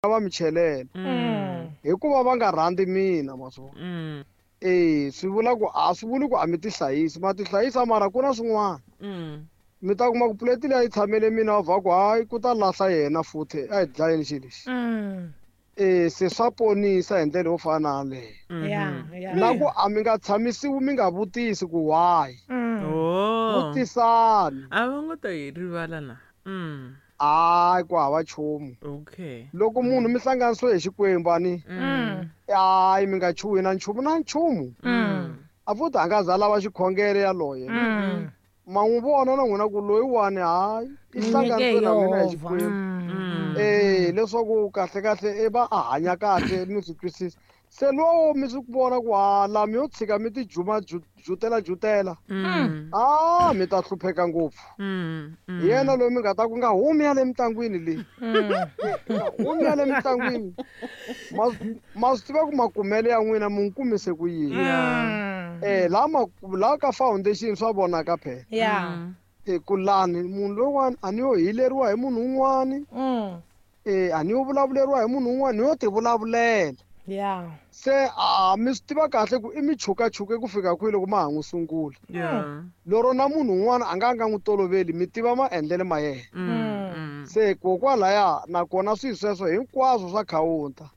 Va mi chelela hikuva va nga rhandzi mina, ma swi vona. E swi vula ku a swi vuli ku a mi tihlayisi, ma tihlayisa, mara ku na swin'wana mi ta kuma ku puleti leyi a yi tshamele mina, va ku hayi, ku ta lahla yena futhi, a hi dlayeni xilo lexi. E se swa ponisa hi ndlela yo fana na yaleyo. Na ku a mi nga tshamisiwi mi nga vutisi ku why. Oh. Vutisani. A va ngo ta yi rivala na. Hayi, ku hava nchumu. Loko munhu mi hlanganisiwe hi Xikwembu ani, hayi, mi nga chuhi na nchumu na nchumu. A futhi a nga za lava xikhongelo yaloye, ma n'wi vona na n'wina ku loyiwani, hayi, i hlanganisiwe na mina hi Xikwembu. Eh, leswaku kahle kahle i va a hanya kahle, mi swi twisisa. Se lowo mi swi vona ku ha la mi yo tshika mi ti juma jutela jutela, a mi ta hlupheka ngopfu. Hi yena loyi mi nga ta ku nga humi ya le mintlangwini leyi, nga humi ya le mintlangwini. Ma swi tiva ku makumele ya n'wina mi n'wi kumise ku yini. Eh, laha ma laha ka foundation swa vonaka phela. E ku lani munhu loyiwani a ni yo hileriwa hi munhu un'wani, e a ni yo vulavuleriwa hi munhu un'wana, ni yo ti vulavulela. Se a mi swi tiva kahle ku i mi chukachuke ku fika kwihi loko ma ha n'wi sungula. Lero na munhu un'wana a nga n'wi toloveli, mi tiva maendlelo ma yena. Se kokwalaya nakona swilo sweswo hinkwaswo swa khawunta.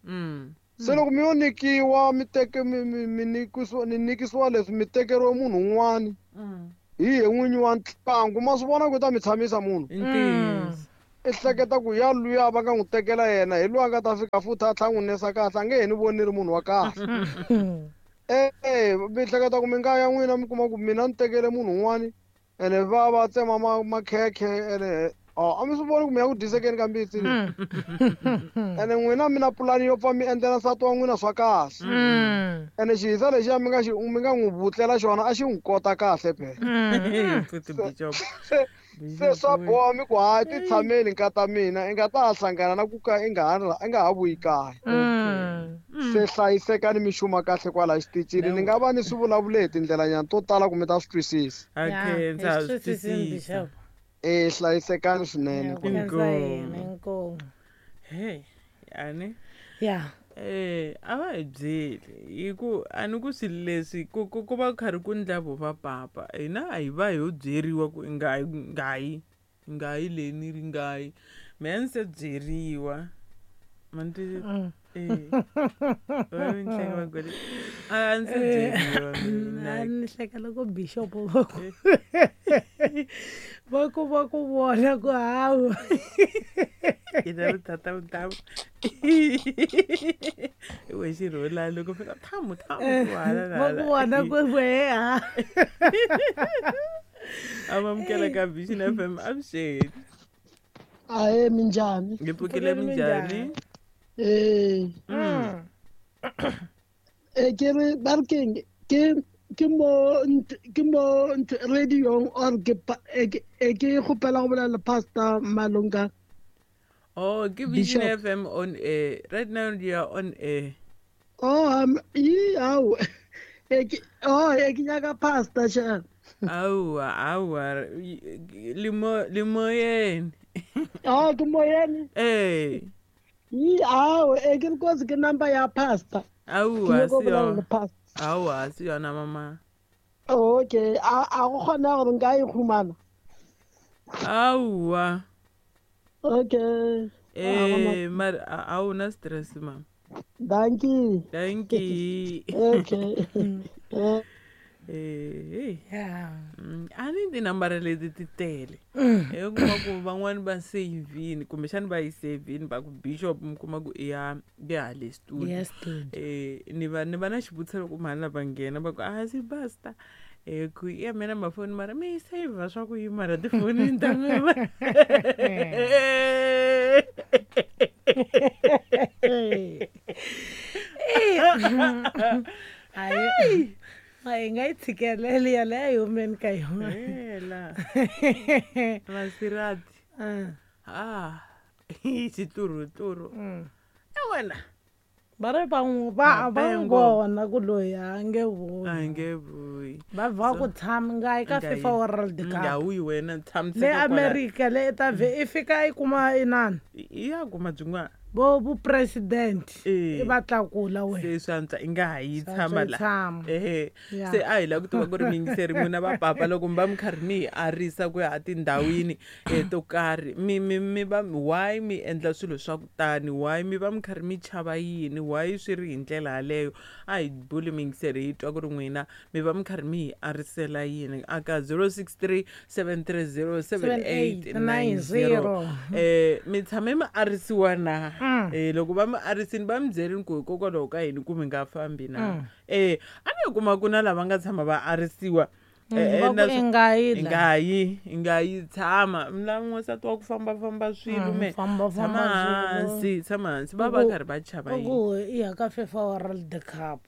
Se loko mi yo nyikiwa, mi teke mi nikisiwa, ni nikisiwa leswi, mi tekeriwe munhu un'wani hi ye n'winyi wa ntlangu, ma swi vona ku ta mi tshamisa munhu. I ntiyiso. I hleketa ku ya luya va nga n'wi tekela yena hi loyi a nga ta fika futhi a tlhela n'wi nesa kahle, a nge he ni voni ni ri munhu wa kahle. E mi hleketa ku mi nga ya n'wina mi kuma ku mina ni tekele munhu un'wani, ene va va tsema makhekhe, ene a mi swi voni ku mi ya ku dyisekeni ka mbitsi leyi. Ene n'wina mi na pulani yo pfa mi endlela nsati wa n'wina swa kahle. Ene xihisa lexiya mi nga xi mi nga n'wi vutlela xona a xi n'wi kota kahle phela. Futhi bishop. Se swa boha mi ku hayi, ti tshameli nkata mina, i nga ta ha hlangana na ku ka i nga ha i nga ha vuyi kaya. Se hlayisekani, mi xuma kahle kwala xitichini. Ni nga va ni swi vulavule hi tindlelanyana to tala ku mi ta swi twisisa. A khensa, ha swi twisisa. E hlayisekani swinene. Inkomu. Hey, ani. Eh, a va hi byeli hi ku a ni ku swilo leswi ku va ku karhi ku ndla vo va papa, hina a hi va hi yo byeriwa ku i nga yi, nga yi, nga yi leyi ni ri nga yi. Mehe ni se byeriwa, ma ni twisisa? Eh, va ni hleka va ku a ni se byeriwa mina. A ni hleka loko bishop va ku vona ku hawu. Ina vutata vutamu i we xirholani loko fika thamu thamu ku hala. Va ku vona ku wehe ha. Amamukela ka Vision FM, avuxeni. Ahe, minjhani? Hi pfukile, minjhani? Eh. E ke re ba re keng, ke mo radio or ke e ke kgopela go bolela le Pastor Malunga. Oh, ke Vision Bishop. FM on air right now, you are on air. Oh, yi awu, e ke, oh, e ke nyaka pastor sha. Awa, awa, limo limoyeni. Oh, ke moyeni. Eh. Yi awu, e ke re kosi ke number ya pastor. Ke Awa. nyaka go Si bolela yona. le pastor. Awa, si yona mama. Okay, a go kgona gore nka e humana? Awa. Okay. Eh, mara a wu na stress, mama. Thank you. Thank you. Okay. Eh. Eh. Yeah. A ni tinambara leti ti tele, hi kuma ku van'wani va savini, kumbexani va yi savini va ku bishop, mi kuma ku i ya hale studio. Yes, studio. Eh, ni va na xivutiso loko mhani lava nghena va ku a si basta, eh, ku ya mina mafoni, mara mi yi save swa ku yi mara tifonini ta n'wina. Hayi, a hi nga yi tshikeleli yaleyo, yi humeni ka yona. Hela masirati. Ah. Ah, xituruturu e wena. Va ri va n'wi va va n'wi Mapengo. vona ku loyi a nge vuyi. A nge vuyi. vuyi. Va va ku tshama nga eka FIFA World Cup. Nga wuyi wena tshamiseka le America le ta vhe i fika i kuma inani. I ya kuma byin'wana. Bo vu president i va tlakula wena. Se swi antswa i nga ha yi tshama la. Se a hi lava ku tiva ku ri miyingiseri n'wina va papa loko mi va mi karhi mi hi arisa ku ya etindhawini to karhi mi va why mi endla swilo swa ku tani, why mi va mi karhi mi chava yini, why swi ri hi ndlela yaleyo. A hi buli miyingiseri hi twa ku ri n'wina mi va mi karhi mi hi arisela yini aka 063 730 7890. Mi tshame mi arisiwa na? Loko va mi arisini va mi byelini ku hikokwalaho ka yini ku mi nga fambi na? A ni kuma ku na lava nga tshama va arisiwa i nga yi tshama mina n'wansati wa ku fambafamba swilo me tshama hansi va va karhi va chava yini ku i ya ka FIFA World Cup.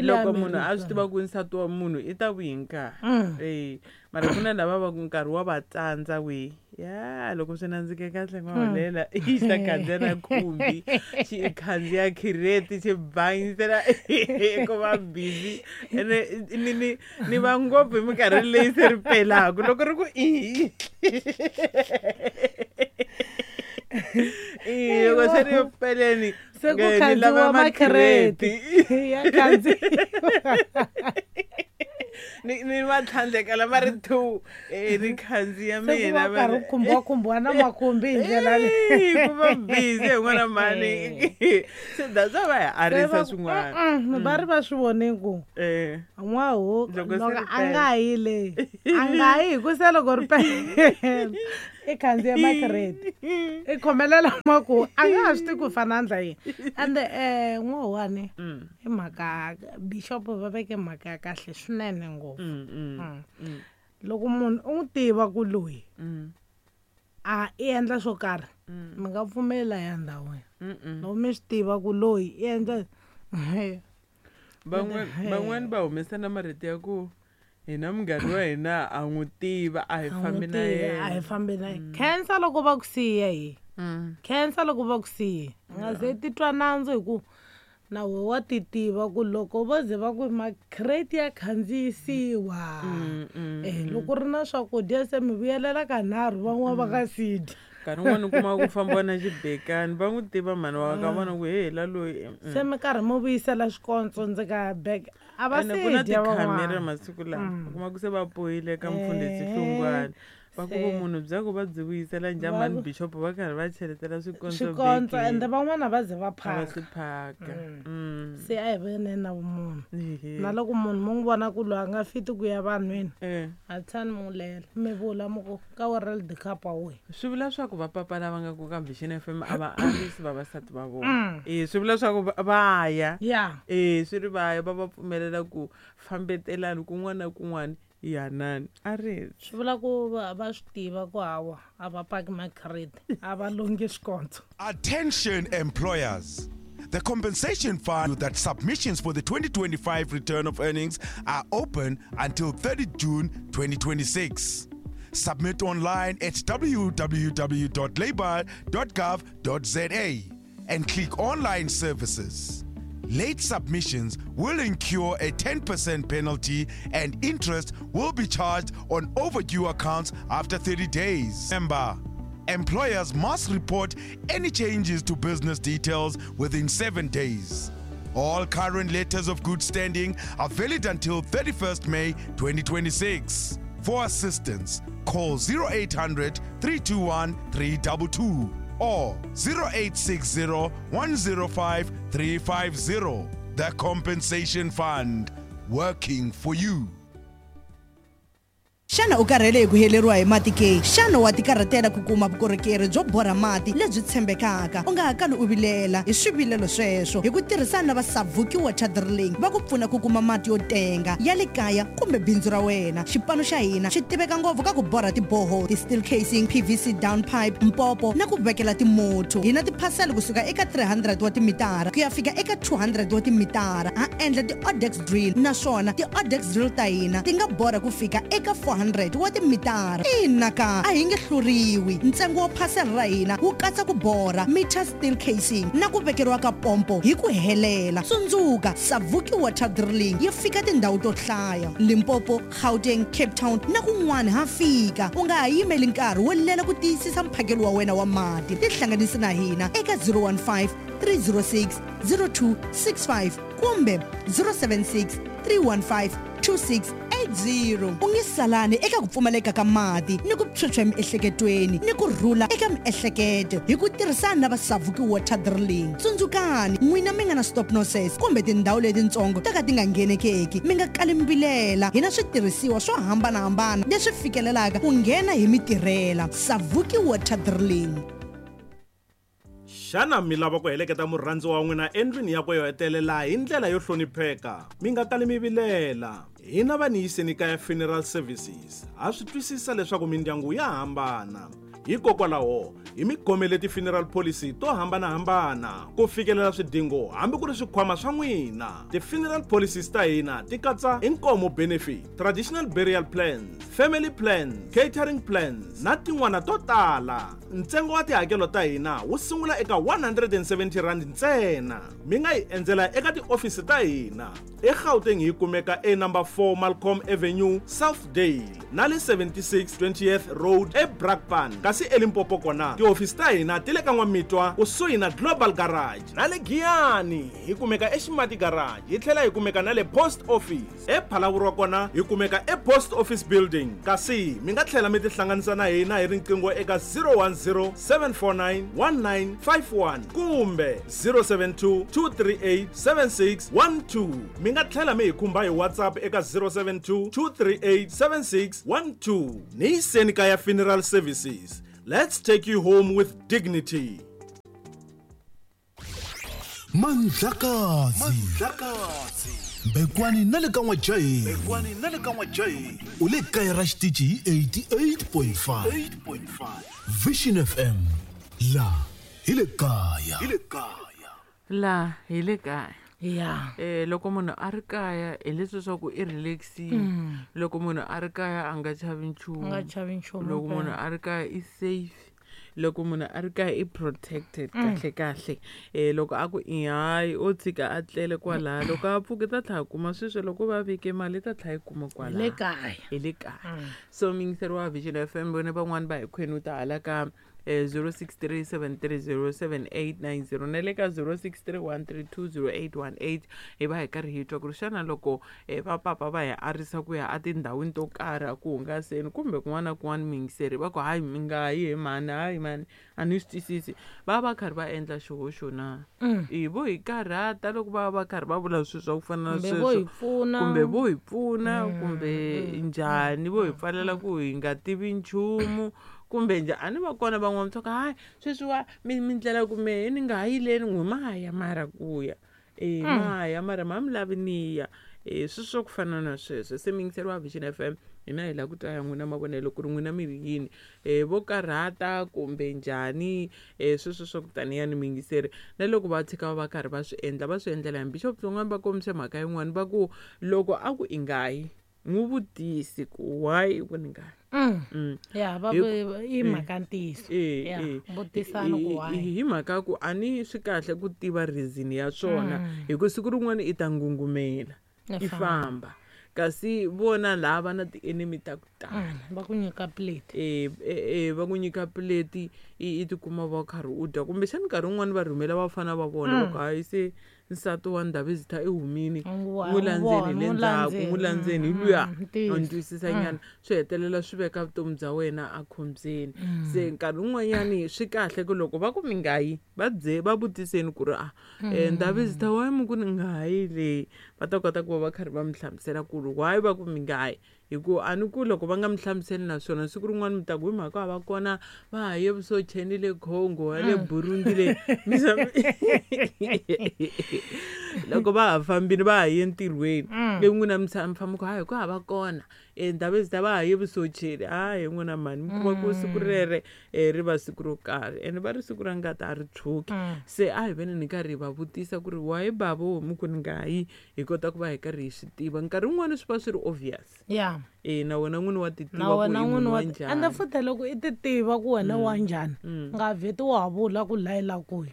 Loko munhu a swi tiva ku nsati wa munhu i ta vuyi nkarhi. Mara ku na lava va ku nkarhi wa va tsandza we. Ya loko swi nandzike kahle n'waholela i ta khandziya na khumbi xi khandziya khireti xi banyisela ku va busy ene ni va ngopfu hi minkarhi leyi se ri pelaka loko ri ku i loko se ri peleni se ku khandziwa makhireti ya khandziwa ni va tlhandleka lama ri 2 ni khandziya mina va karhi khumbiwa na makhumbi hi ndlela leyi ku va busy hi n'wana mhani se that's why va hi arisa swin'wana. Va ri va swi vone ku n'waho loko a nga yi le a nga yi hi ku se loko ri pela i khandziya makhireti i khomelela maku a nga ha swi tivi ku fana ndla yini. Ende n'wahowani i mhaka bishop va veke mhaka ya kahle swinene ngopfu. Loko munhu u n'wi tiva ku loyi a i endla swo karhi mi nga pfumeli ya ndhawini. Loko mi swi tiva ku loyi i endla van'wani va humesa na marito ya ku hina munghana wa hina a n'wi tiva a hi fambi na yena. A hi fambi na yena. Khensa loko va ku siya hi. Khensa loko va ku siya. Nga ze titwa nandzu hi ku na we wa ti tiva ku loko vo ze va ku makhireti ya khandziyisiwa. Loko ri na swakudya se mi vuyelela kanharhu van'wana va nga si dya. Nkarhi wun'wani u kuma ku fambiwa na xibekani va n'wi tiva mhani wa ka vona ku he la loyi. Se mi karhi mi vuyisela xikondzo ndzi ka bag a va se ku na tikhamera masiku lawa u kuma ku se va poyile ka mfundhisi Hlungwani va ku vumunhu bya ku va byi vuyisela njhani mhani bishop va karhi va cheletela swikondzo ende van'wana va ze va phaka. Va swi phaka. Se a hi veneni na vumunhu. Na loko munhu mo n'wi vona ku loyi a nga fiti ku ya vanhwini a tshani mi n'wi lela mi vula mi ku ka World Cup a wuyi. Swi vula swa ku va papa lava nga ku ka Vision FM a va arisi vavasati va vona. Swi vula swa ku va ya. Swi ri va ya va va pfumelela ku fambetelani kun'wana na kun'wana. Yanani arisi. Swi vula ku va swi tiva ku hawa a va paki makhireti a va longi swikondzo. Attention employers. The compensation fund that submissions for the 2025 return of earnings are open until 30 June 2026. Submit online at www.labour.gov.za and click online services. Late submissions will incur a 10% penalty and interest will be charged on overdue accounts after 30 days. Remember, employers must report any changes to business details within 7 days. All current letters of good standing are valid until 31st May 2026. For assistance, call 0800 321 322 or 0860 105 350. The Compensation Fund, working for you. Xana u karhele hi ku heleriwa hi mati ke? Xana wa tikarhatela ku kuma vukorhokeri byo borha mati lebyi tshembekaka? U nga ha kali u vilela hi swivilelo sweswo hi ku tirhisana na va Savuki Water Drilling va ku pfuna ku kuma mati yo tenga ya le kaya kumbe bindzu ra wena. Xipano xa hina xi tiveka ngopfu ka ku borha tiboho, ti-steel casing, PVC down pipe, mpopo na ku vekela timotho. Hi na tiphasela kusuka eka 300 wa timitara ku ya fika eka 200 wa timitara. Ha endla ti-Odex drill naswona ti-Odex drill ta hina ti nga borha ku fika eka 4 400 wa timitara. Ina ka a hi nge hluriwi. Ntsengo wa phasela ra hina wu katsa ku borha, meter steel casing na ku vekeriwa ka pompo hi ku helela. Tsundzuka, Savuki Water Drilling yi fika tindhawu to hlaya: Limpopo, Gauteng, Cape Town na kun'wana ha fika. U nga ha yimeli nkarhi wo lela ku tiyisisa mphakelo wa wena wa mati. Tihlanganisi na hina eka 015 306 0265 kumbe 076 315 2680. U nge salani eka ku pfumaleka ka mati ni ku phyuphya emiehleketweni ni ku rhula eka miehleketo hi ku tirhisana na va Savuki Water Drilling. Tsundzukani, n'wina mi nga na stop nonsense kumbe tindhawu letitsongo to ka ti nga nghenekeki, mi nga kali mbilela. Hi na switirhisiwa swo hambanahambana leswi fikelelaka ku nghena hi mitirhela. Savuki Water Drilling. Xana mi lava ku heleketa murhandziwa wa n'wina endlwini yakwe yo hetelela hi ndlela yo hlonipheka? Mi nga kali mi vilela. Hina va Niyiseni Kaya Funeral Services ha swi twisisa leswaku mindyangu ya hambana. Hikokwalaho, hi mi khomele ti-funeral policy to hambanahambana ku fikelela swidingo hambi ku ri swikhwama swa n'wina. Ti-funeral policies ta hina ti katsa inkomo benefit, traditional burial plans, family plans, catering plans na tin'wana to tala. Ntsengo wa tihakelo ta hina wu sungula eka R170 ntsena. Mi nga hi endzela eka tiofisi ta hina. EGauteng hi kumeka e number 4 Malcolm Avenue, Southdale, na le 76 20th Road eBrakpan. Kasi eLimpopo kona tihofisi ta hina ti le ka N'wamitwa kusuhi na Global Garage, na le Giyani hi kumeka eXimati Garage, hi tlhela hi kumeka na le Post Office. EPhalaborwa kona hi kumeka ePost Office Building. Kasi mi nga tlhela mi tihlanganisa na hina hi riqingho eka 010 749 1951 kumbe 072 238 7612. Mi nga tlhela mi hi khumba hi WhatsApp eka 072 238 7612. Niyiseni Kaya Funeral Services. Let's take you home with dignity. Mandlakazi Bekwani na le ka N'wajaheni u le kaya ra xitichi hi 88.5 Vision FM. La hi le kaya. La hi le kaya. Ya. Loko munhu a ri kaya hi leswi swa ku i relaxile. Loko munhu a ri kaya a nga chavi nchumu. A nga chavi nchumu. Loko munhu a ri kaya i safe. Loko munhu a ri kaya i protected kahle kahle. Loko a ku i hayi o tshika a tlele kwalaya, loko a pfuka ta tlhela kuma sweswo, loko va veke mali ta tlhela yi kuma kwalaya. Le kaya. Hi le kaya. So muyingiseri wa Vision FM, vone van'wani va hi khwenuta hala ka 0637307890 na le ka 0631320818. Hi va hi karhi hi twa ku ri xana loko vapapa va hi arisa ku ya etindhawini to karhi a ku hungaseni kumbe kun'wana na kun'wana, muyingiseri va ku hayi mi nga yi he mhani, hayi mhani a ni swi twisisi, va va karhi va endla xihoxo na? I vo hi karhata loko va va karhi va vula swilo swa ku fana na Kumbe vo hi sweswo, pfuna. kumbe vo hi pfuna, kumbe njhani, vo hi pfalela ku hi nga tivi nchumu kumbe njhani. A ni va kona van'wana va ku hayi sweswiwa mi ndlela ku mehe ni nga ha yileni n'wi maya mara ku ya maya mara ma mi lavi ni ya. Sweswo swa ku fana na sweswo. Se muyingiseri wa Vision FM, hina hi lava ku twa ya n'wina mavonelo ku ri n'wina mi ri yini, vo karhata kumbe njhani, sweswo swa ku taniya ni muyingiseri. Na loko va tshika va karhi va swi endla, va swi endlela hi Bishop Hlongwane va kombise mhaka yin'wani va ku loko a ku i nga yi, n'wi vutisi ku why ku ni nga yi. Ya, va i mhaka ntiyiso. Ya, vutisana ku why. Hi mhaka ku a ni swi kahle ku tiva reason ya swona, hi ku siku rin'wana i ta ngungumela, i famba. Kasi vona lava na ti-enemy ta ku tala. Va ku nyika plate. Va ku nyika plate, i tikuma va karhi u dya. Kumbexani nkarhi wun'wani va rhumela vafana va vona, va ku hayi se nsati wa Ndabezitha i humile, n'wi landzeni le ndzhaku, n'wi landzeni hi luya. A ni twisisa nyana, swi hetelela swi veka vutomi bya wena a khombyeni. Se nkarhi wun'wanyani swi kahle ku loko va ku mi nga yi, va bye va vutiseni ku ri a Ndabezitha why mi ku ni nga yi le, va ta kota ku va va karhi va mi hlamusela ku ri why va ku mi nga yi. Hi ku a ni ku loko va nga mi hlamuseli naswona siku rin'wana mi ta ku hi mhaka va kona va ha ye vusocheni le Congo, ya le Burundi le. Loko va ha fambile va ha ye entirhweni, ivi n'wina mi tshama mi famba ku hayi ku hava kona, Ndabezitha va ha ye vusocheni, hayi n'wina mhani mi kuma ku siku rere ri va siku ro karhi, ene va ri siku ra ngati a ri tshuki. Se a hi veni ni karhi hi va vutisa ku ri why bava mi ku ni nga yi, hi kota ku va hi karhi hi swi tiva. Nkarhi wun'wani swi va swi ri obvious. E na wena n'wini wa ti na tiva ku wena i n'wini munhu wa wa njhani. Ende futhi loko i ti tiva ku wena wa njhani, nga vheti wa ha vula ku la i la kuya.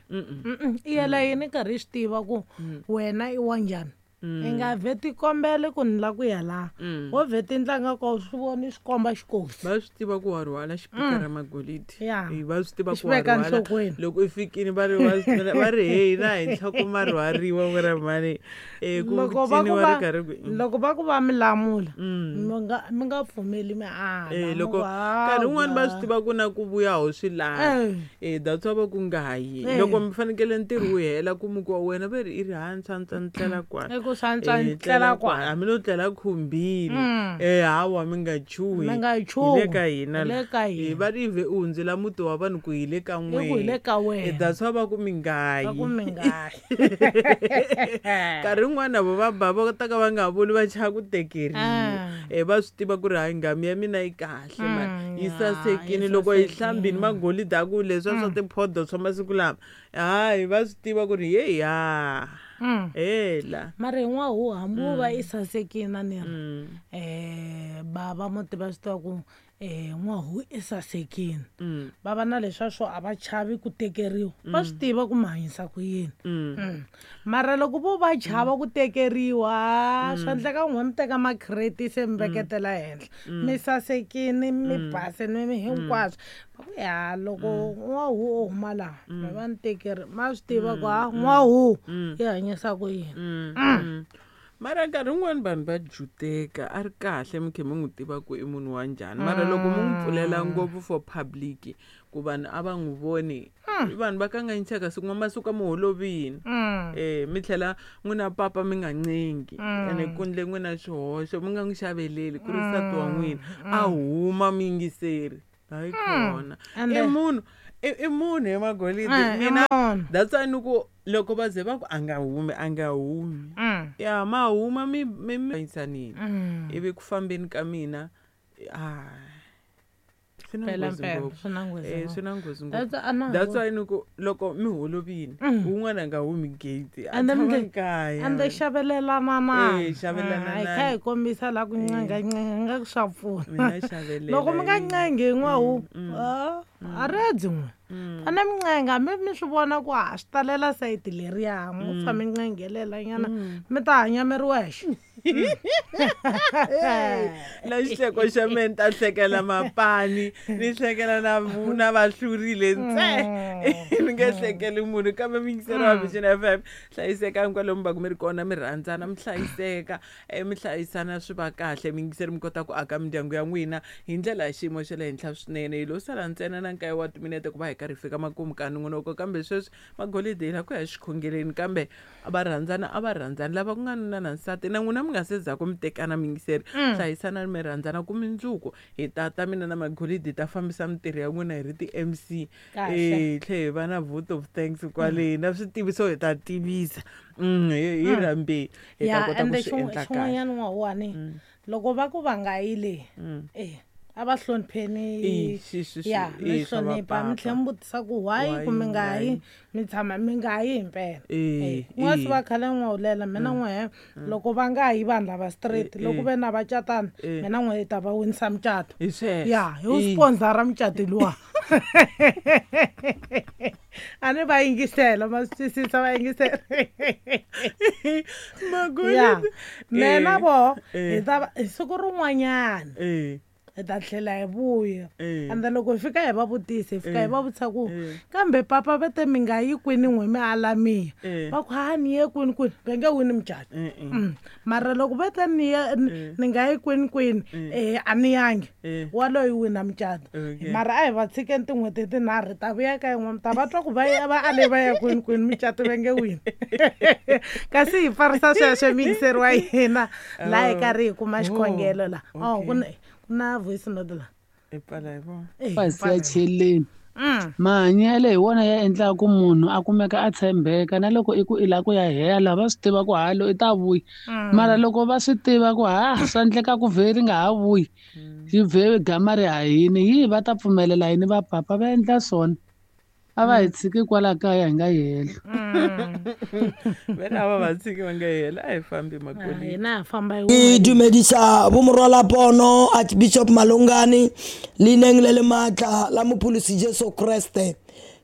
I yela yini karhi i swi tiva ku wena i wa njhani? I nga vheti kombele ku ni la ku ya laha. Wo vheti ndlanga ko swi voni swi komba xikosi. Va swi tiva ku wa rhwala xipikara magolidi. Ya. Va swi tiva ku wa rhwala. Loko i fikini va ri va ri hey na hi nhloko ma rhwariwa n'wina mhani. Ku Loko va ku va karhi ku loko va ku va mi lamula, mi nga pfumeli mi ala. Mi loko nkarhi wun'wani va swi tiva ku na ku vuya ho swi lava. That's why va ku nga yi. Loko mi fanekele ntirho wu hela ku muki wa wena va ri i ri hansi a ni tlela kwala. I ku swa antswa ni tlela kwala. Hambi no tlela khumbini. Hawa mi nga chuhi. Mi nga chuhi. Hi le ka hina Hi le ka hina. Va ri ve u hundzela muti wa vanhu ku hi le ka I ku hi le ka wena. That's why va ku mi nga yi. Va ku mi nga yi. Nkarhi wun'wana vo va ba va ta ka va nga vuli va chava ku tekeriwa. Va swi tiva ku ri hayi nghamu ya mina yi kahle man. Yi sasekile loko yi hlambini magolidi a ku leswiya swa tiphodo swa masiku lama. Hayi va swi tiva ku ri hey ya. Hela. Mara hi n'wahu hambi wo va i sasekile a ni ri. Bava muti va swi tiva ku n'wahu i sasekile. Va va na leswiya swo a va chavi ku tekeriwa. Va swi tiva ku mi hanyisa ku yini. Mara loko vo va chava ku tekeriwa, swa endleka n'we mi teka makhireti se mi veketela henhla. Mi sasekile, mi basile, mi hinkwaswo. Va ku ya loko n'wahu o huma laha, mi va ni tekeri, ma swi tiva ku ha n'wahu i hanyisa ku yini. Mara nkarhi wun'wani vanhu va juteka a ri kahle mi khe mi n'wi tiva ku i munhu wa njhani. Mara loko mi n'wi pfulela ngopfu for public ku vanhu a va n'wi voni, vanhu va kanganyiseka siku n'wa masiku a mi holovini. Mi tlhela n'wina papa mi nga ncengi. Ene ku ndle n'wina xihoxo mi nga n'wi xaveleli ku ri nsati wa n'wina a huma mi yingiseri. Hayi khona. And I munhu, i munhu he magolidi. Mina that's why ni ku loko va ze va ku a nga humi, a nga humi. Ya ma huma mi mi mi yisanini. Ivi ku fambeni ka mina, swi na Mpela, nghozi mpela, ngopfu. swi na nghozi ngopfu. Swi na nghozi ngopfu. That's why a na ha That's ku why ni ku loko mi holovini, wun'wana a nga humi gate, a And then tshama mi kaya. And then xavelelanana. Xavelanana. Hi kha hi kombisa la ku ncenga ncenga nga ku swa pfuna. Mina xavelela Loko mi nga yini. ncengi n'wahu, a ri dyi n'we. A ni mi ncenga, mi swi vona ku ha swi talela sayiti leriya, mo pfa mi ncengelela nyana, mi ta hanya mi ri wexe. La xihleko xa mehe ni ta hlekela mapani, ni hlekela na va hlurile ntse. Ni nge hlekeli munhu kambe mi yingiseri wa Vision FM. Hlayisekani kwalomu va ku mi ri kona, mi rhandzana, mi hlayiseka, mi hlayisana swi va kahle, mi yingiseri mi kota ku aka mindyangu ya n'wina hi ndlela ya xiyimo xa le henhla swinene. Hi lo sala ntsena na nkaye wa timinete ku va hi karhi hi fika makumu ka nongonoko, kambe sweswi magolidi hi la ku ya xikhongeleni, kambe a va rhandzana, a va rhandzani lava ku nga nuna na nsati na n'wina mi nga se za ku mi tekana mi yingiseri. Hlayisana mi rhandzana ku mindzuku hi tata mina na magolidi hi ta fambisa mintirho ya n'wina hi ri ti MC. Kahle. Hi tlhe hi va na vote of thanks kwale na switiviso hi ta tivisa. Hi rhambe hi ta Ya, kota ku ende swi endla kahle. xin'wanyana n'wawani, loko va ku va nga yi le, a va hlonipheni. Xi, xi, xi, Ya, mi swa hlonipha, mi vapapa. tlhela mi vutisa ku why Why ku mi nga nga yi, yi? mi tshama mi nga yi himpela. N'wa swi va khale n'wa hulela, mina n'we, loko va nga yi vanhu lava straight, loko ve na va catana, mina n'we hi ta va winisa mucato. Hi sweswo. Ya, hi wu sponsora mucato luwa. A ni va yingisela, ma swi twisisa, va yingisela. Magolidi. Ya, mina vo, hi ta va, hi siku rin'wanyana. Hi ta tlhela hi vuya. And then loko hi fika hi va vutisa, hi fika hi va vutisa ku, kambe papa va te mi nga yi kwini n'we mi ala miya. Va ku, ha, ni ye kwini kwini, va nge wini mucato. Mara loko va te ni ye, ni nga yi kwini kwini, a ni yangi. Waloyi wina mucato. Mara a hi va tshikeni tin'hweti tinharhu, hi ta vuya ka yin'we, mi ta va twa ku va ya, va ale va ya kwini kwini, mucato va nge wini. Kasi hi pfarisa sweswo miyingiseri wa hina, laha hi karhi hi kuma xikhongelo la. Oh, ku na voice note la. I pfala hi vona. Pasi ya cheleni. Mahanyelo hi wona ya endlaka ku munhu a kumeka a tshembeka, na loko i ku i lava ku ya hela va swi tiva ku halo i ta vuya. Mara loko va swi tiva ku ha swa endleka ku vhe ri nga ha vuyi, yi vhe gama ri hahini, yi va ta pfumelela yini va papa va endla swona. A va hi tshiki kwala kaya hi nga yi helo. Vele a va va tshiki va nga yi helo, a hi fambi makoleni. Hina ha famba hi Ke dumedisa bomorwalapono Archbishop Malongane leineng le le maatla la Mopholosi Jesu Kriste.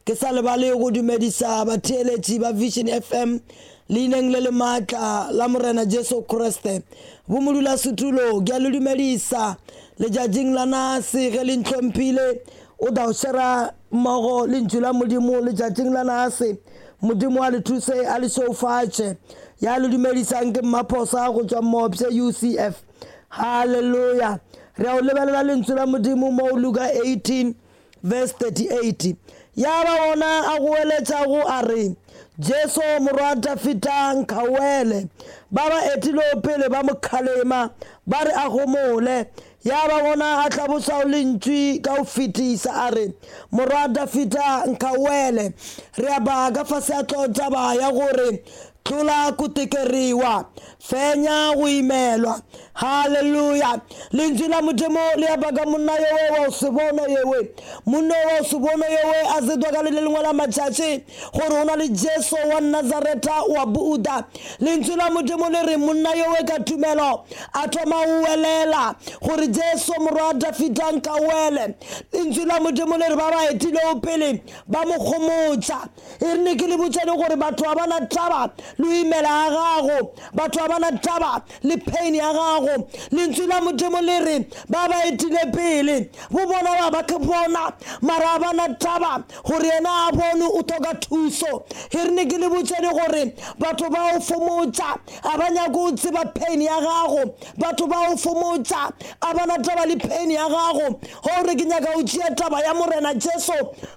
Ke sa lebale go dumedisa batheeletši ba Vision FM leineng le le maatla la Morena Jesu Kriste. Bomodulasetulo ke a le dumedisa letšatšing la nase ge le ntlhomphile o tla o šera mmogo Lentšu la Modimo letšatšing la nase. Modimo a le thuse a le šeufatše. Ya le dumedisang ke Mmaphosa go tšwa Mopše UCF. Haleluya! Re ya go lebelela Lentšu la Modimo mo Luka 18 verse 38. Ya ba gona a goeletšago a re, Jesu Morwa Dafida, nkgauele. Ba ba etilego pele ba mo kgalema, ba re a homole. Ya ba gona a hlabošago lentšu ka go fetisa, a re, Morwa Dafida, nkgauele. Re a ba ka fase ga hlogotaba ya gore, Tlola ku tekeriwa, fenya go imelwa. Haleluya! Lentšu la Modimo le a baka monna yowe wa go se bono yewe. Monna wa go se bono yowe a zedwa ka le lengwe la matšatši gore o na le Jesu wa Nazaretha wa Buda. Lentšu la Modimo le re monna yowe ka tumelo a thoma go welela gore Jesu Morwa wa Dafida nka wele. Lentšu la Modimo le re ba ba etilego pele ba mo gomotša. E re ne ke le botšane gore batho ga ba na taba le go imela ga gago, batho ga ba na taba le pain ya gago. Lentswe la Modimo le re ba ba etile pele bo bona ba ba ke bona, mara ga ba na taba gore yena a bone o thoka thuso. E re ne ke le botšane gore batho ba o fomotša ga ba nyake go tseba pain ya gago, batho ba o fomotša a ba na taba le pain ya gago. Gore ke nyaka go tšea taba ya Morena Jesu,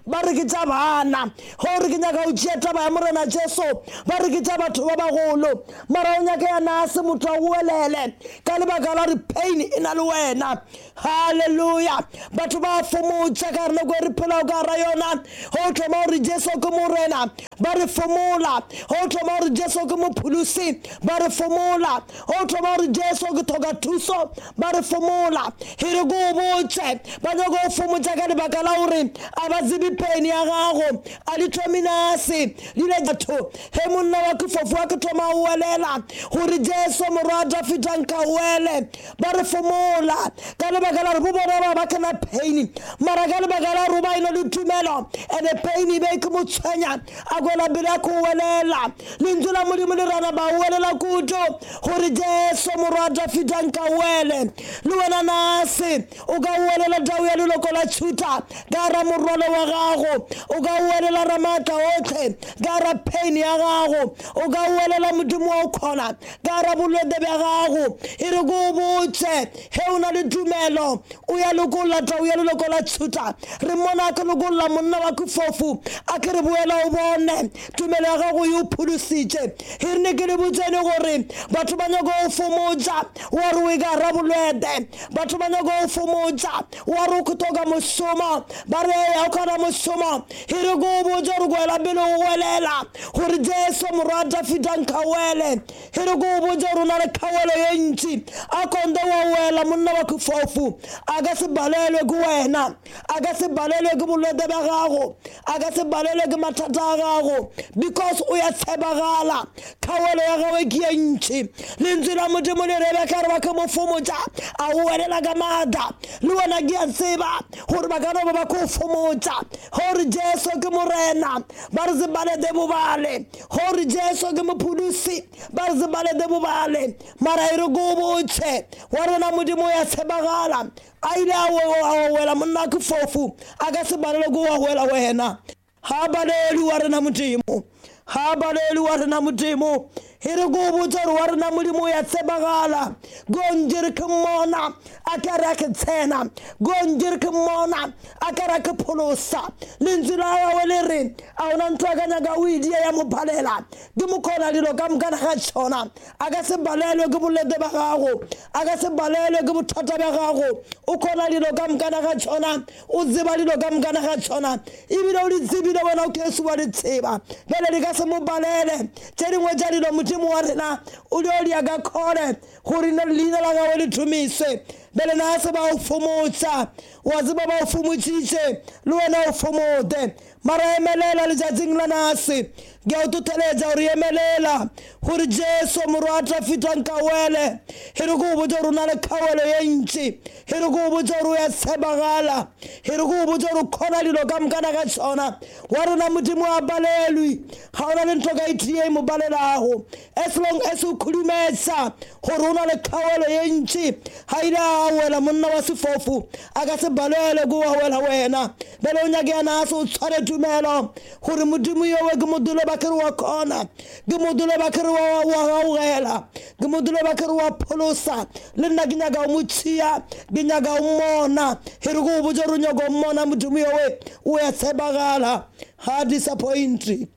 ba re ke tša bana. Gore ke nyaka go tšea taba ya Morena Jesu, ba re ke tša batho ba bagolo. Mara o nyaka ya nase motho a goelele ka lebaka la gore pain e na le wena. Haleluya! Batho ba fomotša ka gare nako e re phelago ka gara yona. Go thoma gore Jesu ke Morena, ba re fomola. Go thoma gore Jesu ke Mopholosi, ba re fomola. Go thoma gore Jesu ke thoka thuso, ba re fomola. E re ke o botše, ba nyaka go fomotša ka lebaka la gore a ba tsebe pain ya gago. A di thomi nase di ile batho. Ge monna wa kefofu a ke thoma go welela gore Jesu Morwa wa Dafida nka wele, ba re fomola ka lebaka la gore bo bona ba ba kena pain. Mara ka lebaka la gore ba eno le tumelo ene pain e be ke mo tshwenya, a kwela pele a ko welela. Lentšu la Modimo le rana ba welela kudu gore Jesu Morwa wa Dafida nka wele. Le wena nase o ka welela tau ya leloko la Juda ka gara morwalo wa gago, o ka welela Ramaatla otlhe ka gara pain ya gago, o ka welela Modimo wa o kgona ka gara bolwetse bja gago. E re ke o botše, ge o na le tumelo o ya lokolla tau ya leloko la Juda. Re mmona a ke lokolla monna wa kefofu, a ke re boela o bone, tumelo ya gago e o pholositše. E re ne ke le botšene gore batho ba nyaka go fomotša wa re o e ka gara bolwetse, batho ba nyaka go fomotša wa re o thoka mošomo, ba re eya o kgona mošomo. E re ke o botše gore kwela pele o welela gore Jesu Morwa wa Dafida nka wele. E re ke o botše gore o na le kgawelo ye ntši, a konde wa wela monna wa kefofu, a ka se balelwe ke wena, a ka se balelwe ke bolwetse bja gago, a ka se balelwe ke mathata a gago, because o ya tshepagala. Kgawelo ya gagwe ke ye ntši. Lentswe la Modimo le re ka re ba ke mo fomotša a welela ka maatla. Le wena ke a tseba gore ba ka no ba ba ko fomotša gore Jesu ke Morena, ba re se balete bobale, gore Jesu ke Mopholosi, ba re se balete bobale. Mara e re ko o botše wa rena Modimo ya tshepagala, a ile a wela monna ke fofu, a ka se balelwe ke wa wela wena. Ga balelwe wa rena Modimo, ga balelwe wa rena Modimo. E re ko o botše gore wa rena Modimo ya tshepagala. Gonjere ke mmona a ka re a ke tsena, gonjere ke mmona a ka re a ke pholosa. Lentswe la gagwe le re a ona ntho a ka nyaka o e dia ya mo balela, ke mo kgona dilo ka mokana ga tšona. A ka se balelwe ke bolwetse bja gago, a ka se balelwe ke bothata bja gago. O kgona dilo ka mokana ga tšona, o tseba dilo ka mokana ga tšona, ebile o di tsebile wena o kesu wa di tseba. Bjale di ka se mo balele tše dingwe tša dilo Modimo Modimo wa rena o dio dia ka khole gore ne leina la gagwe le tumiswe. Bele na se ba o fomotsa, wa tseba ba o fomotšitše, le wena o fomote. Mara emelela letšatšing la nase, ke a o totheletša gore emelela, gore Jesu morwa a Dafita nkawele. E re ko o botša gore o na le kgawelo ye ntši, e re ko o botša gore o ya tshepagala, e re ko o botša gore o kgona dilo ka mokana ka tšona. Wa rena Modimo a palelwe, ga ona le ntho ka e tee e mo palelago. As long as o khudumetsa gore o na le kgawelo ye ntši, ga ile a wela monna wa sefofu, a ka se balelwe ke wa wela wena. Bjale o nyake ya nase o tshware tumelo gore Modimo yowe ke modulo ba kere wa kgona, ke modulo ba kere wa gaugela, ke modulo ba kere wa pholosa. Le nna ke nyaka o mo tšhia, ke nyaka o mmona. E re ko o botša gore o nyaka o mmona, Modimo yowe o ya tshepagala, ga disappoint,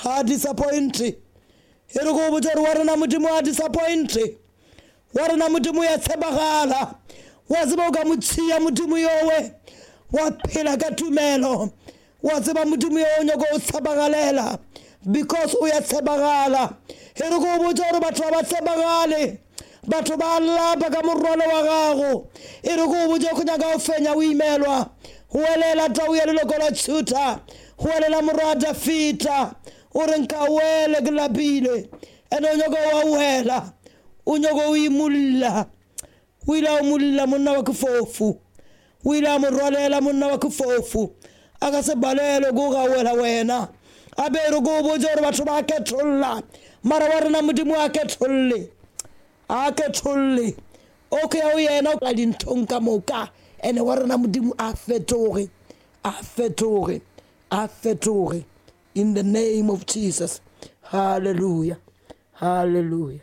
ga disappoint. E re ko o botša gore wa rena Modimo a disappoint, wa rena Modimo ya tshepagala. Wa tseba o ka mo tšhia Modimo yowe, wa phela ka tumelo. Wa tseba Modimo yo o nyaka o tshepagalela, because o ya tshepagala. E re ko o botša gore batho ba ba tshepagale, batho ba lapa ka morwalo wa gago. E re ko o botša go nyaka o fenya o imelwa. Welela tau ya leloko la Juda, welela morwa Dafita, o re nka wele ke lapile. Ene o nyaka wa wela, o nyaka o imulla. O ile a mulla monna wa kefofu, o ile a mo rwalela monna wa kefofu, a ka se balelwe ko ga wela wena. A be re ko o botša gore batho ba ketholla, mara wa rena Modimo a ketholle, a ketholle. Okay, o yena o dinthong ka moka, ene wa rena Modimo a fetoge, a fetoge, a fetoge. In the name of Jesus. Hallelujah, hallelujah.